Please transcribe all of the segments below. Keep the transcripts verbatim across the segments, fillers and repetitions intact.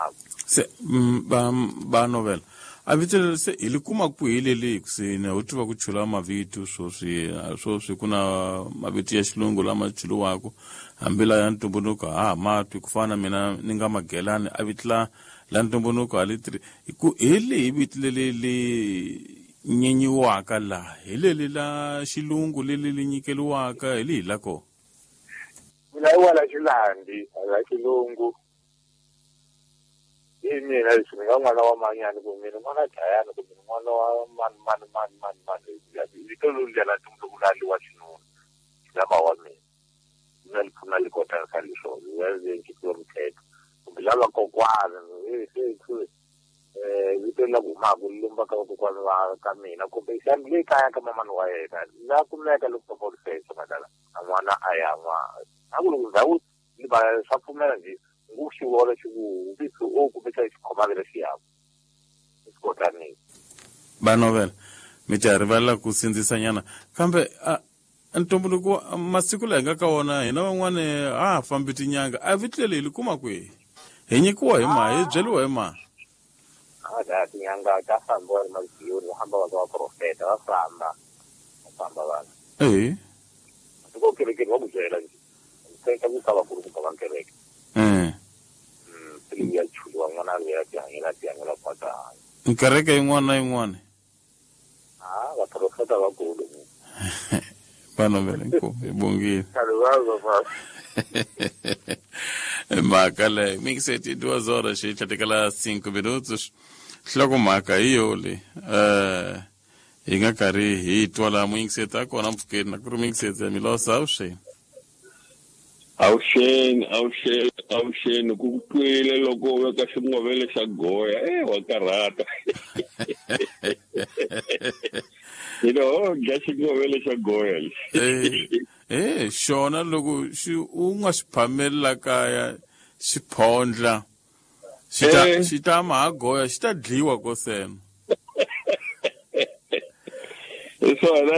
humaka. Se ba ba novela a vito se hi li kuma kwihi leli kusini u tiva ku chula mavito swoswi swoswi ku na mavito ya xilungu lama chuliwaka hambi la ya ntumbuluko ha matwi ku fana mina ni nga Magelani a vito la la ntumbuluko a li tri ku hi lehi vito leli li nyenyiwaka la hi leli la xilungu leli li nyikeliwaka hi lihi la kona? Mina i wala xilandi la xilungu. Hi mina leswi ni nga n'wana wa manyani kumbe mina n'wana dlayani kumbe n'wana wa mani mani mani mani mani vito loluya la ntumbuluko la li wa xinuna lama wa mina mina li pfuna li kota ka leswo ya mthetho kumbe lava kokwana eh vito la humaka li lumba ka kokwana wa ka mina kumbe xana le kaya ka mamani wa yena la kumeka loko papa lifesa madala a n'wana a ya n'wa a ku loko ndhawu li va swa pfumela nje nguxivola xiku vito o kumbe xa xikhomavela xiyako xikotanini. Ba novela mi ta rivalela ku sindzisanyana kambe ntumbuluko masiku laha hi nga ka wona hina van'wani a ha fambi tinyanga a vito leri hi li kuma kwihi hi nyikiwa hi ma hi byeriwa hi ma? A da tinyanga ta fambiwa emaziyoni va hamba va ka vaprofeta va famba va famba vanhu eh tiko kerekeni va ku byela nje teka ku ka vakulukumba va kereke eh mm ya chuliwa n'wana loyi a tihanyela tihanyela kwata kereke yin'wana na yin'wana ah vaprofeta vakulu va novela inkomu hi bongile mhaka leyo mingiseti duas horas e tlhatekela cinco minutos nhlokomhaka hi yo le eh hi nga karhi hi twa laha muyingiseti a kona mpfhukeni na ku ri muyingiseti ya Milosa avuxeni. Avuxeni avuxeni avuxeni ku twile loko u veka xingovele xa goya e wa karhata hino dya xingovele xa goya lexi eh xona loko xi u nga xi phameli la kaya xi phondla xi ta xi ta ma ha goya xi ta dliwa kosena swona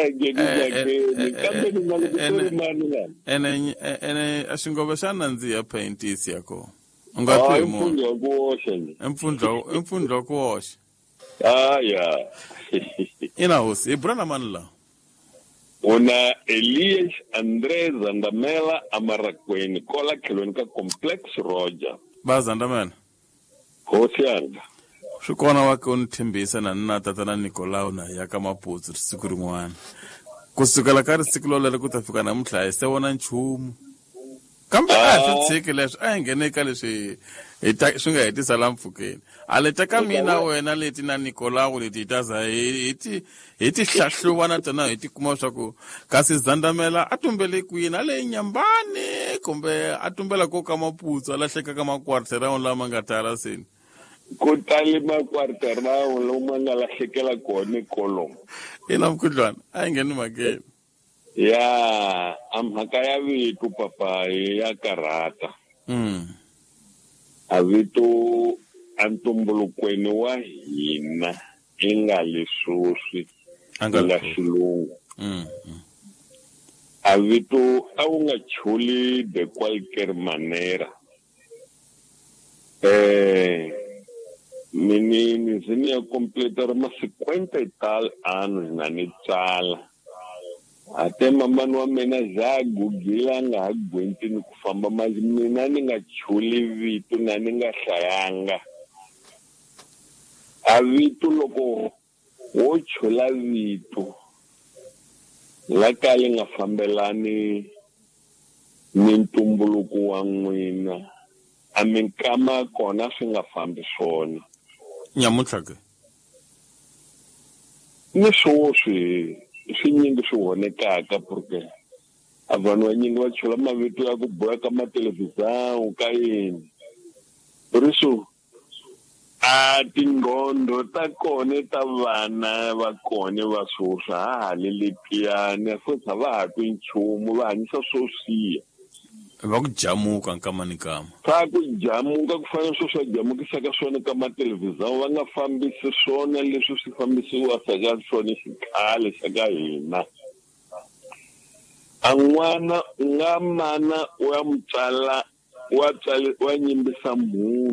kambe ni nga loko ku ri mani lana ene ene a xingove xa nandziha paintisi ya kona u nga twi hi munhu mpfundla ku oxa mpfundla mpfundla ku oxa ah ya ina hosi hi bula na mani la? Una Elias André Zandamela Amarakweni kola tlhelweni ka Complex Roger. Ba Zandamela hosi yanga swi kona wa ke u ni tshembisa na ni na tatana Nicolau na ya ka Maputsu siku rin'wana ku sukela ka risiku lolero ku ta fika namuntlha hi se vona nchumu kambe a hi swi tshiki leswi a hi nghene ka leswi hi ta swi nga hetisa la mpfhukeni a leta ka mina wena leti na Nicolau leti hi ta za hi ti hi ti hlahluva na tona hi ti kuma swa ku kasi Zandamela a tumbele kwini a le Nyambani kumbe a tumbela ko ka Maputsu a lahleka ka makwarterao lama nga tala seni ku tali makwarterao lomu nga lahlekela kona kolomo. Ina mukhuhlwana a yi ngheni mhakeni ya a mhaka ya vito papa ya karhata mm. a vito a ntumbulukweni wa hina i nga leswoswi nga xilungu mm. a vito a wu nga chuli de qualquer manera eh mini ni ya completar ma cinquenta e tal anos na ni tsala ate mamani wa mina za gugila nga ha gwenti ni ku famba mas mina ni nga chuli vito na ni nga hlayanga a vito loko wo chula vito la ka li nga fambelani ni ntumbuluko wa n'wina a minkama kona swi nga fambi swona nyamuntlha ke ni swoswi swi nyingi swi honekaka porque a vanhu vanyingi va chula mavito ya ku boya ka mathelevhizão ka yini por isso a tingqondo ta kona ta vana va kona va swoswi ha ha le letiyani futhi a va ha twi nchumu va hanyisa swoswiya va ku jamuka nkama ni nkama swa ku jamuka ku fana swo swa jamukisaka swona ka mathelevhizão va nga fambisi swona leswi swi fambisiwaka ka swona xikhale xa ka hina a n'wana u nga mana u ya mutswala wa tswala wa nyimbisa munhu